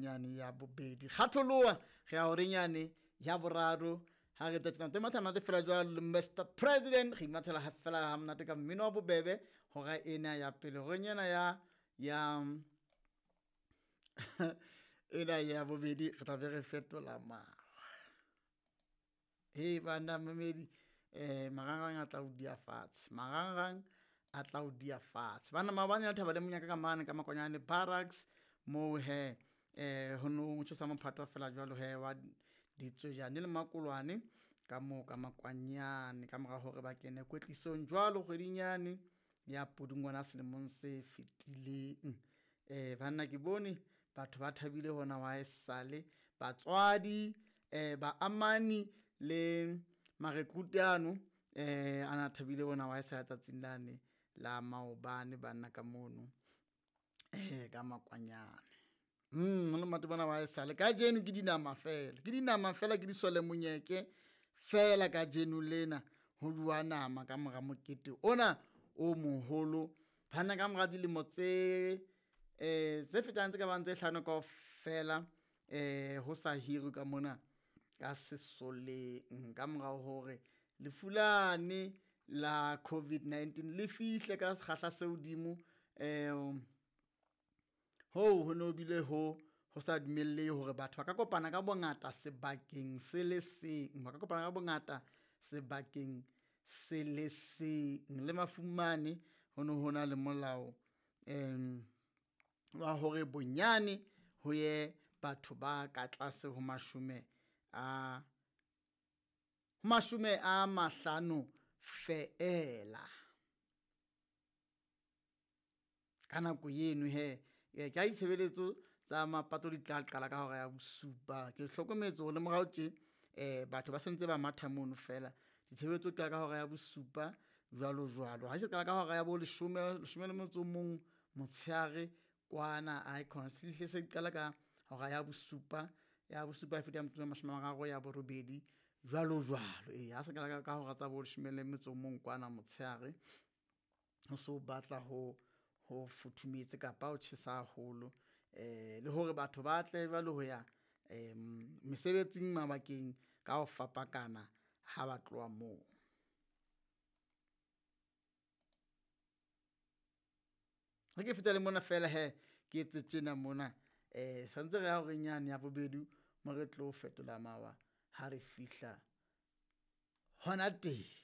Horeng yane ya bobedi. Kgatholoha, re ya horeng yane ya boraro. Ha re tla tjena matha monate fela jwalo Mr President, re imathela ha fela ha monate ka mmino wa bobebe hora ena ya pele. Horeng ena ya ena ya bobedi re tla be re fetola mawa. He banna mamedi, marangrang a tla o dia fatshe, marangrang a tla o dia fatshe. Banna maobane ya thaba le monyaka ka mane ka Makwanyane Barracks moo he ho no tjhesa mophato fela jwalo he wa ditswejane le makolwane ka moo ka Makwanyane, ka mora hore ba kene kwetlisong jwalo kgweding yane ya Pudungwana selemong se fetileng. Banna ke bone batho ba thabile hona wa esale batswadi, baamani le marekrute ano ana thabile hona wa esale tsatsing lane la maobane banna ka mono ka Makwanyane. Ho le monate mona wa esale kajeno ke dinama fela, ke dinama fela, ke disole monyeke fela kajeno lena ho jowa nama ka mora mokete ona o moholo. Banna ka mora dilemo tse tse fetang tse ka bang tse hlano kaofela ho sa hirwe ka mona ka sesoleng, ka mora hore lefu lane la COVID-19 le fihle ka sekgahla se hodimo. Hoo ho no bile ho sa dumellehe hore batho ba ka kopana ka bongata sebakeng se le seng, ba ka kopana ka bongata sebakeng se le seng. Le mafung mane ho no hona le molao wa hore bonyane ho ye batho ba ka tlase ho mashome a mahlano feela. Ka nako eno he ke ha ditshebeletso tsa mapato di tla qala ka hora ya bosupa. Ke hlokometse hore le morao tje batho ba sentse ba matha mono fela. Ditshebeletso di qala ka hora ya bosupa jwalo jwalo. Ha se qala ka hora ya bo leshome, leshome le motso o mong motshehare kwana aekhona se hle se qala ka hora ya bosupa, ya bosupa e feta metsotso e mashome a mararo ya borobedi jwalo jwalo. Eya ha se qala ka hora tsa bo leshome le metso o mong kwana motshehare, ho so batla ho futhumetse kapa ho tjhesa haholo. Le hore batho ba tle jwale ho ya mesebetsing mabakeng ka ho fapakana ha ba tloha moo. Ha ke feta le mona fela he, ke etse tjena mona santse re ya horeng yane ya bobedi mo re tlo fetola mawa ha re fihla hona teng.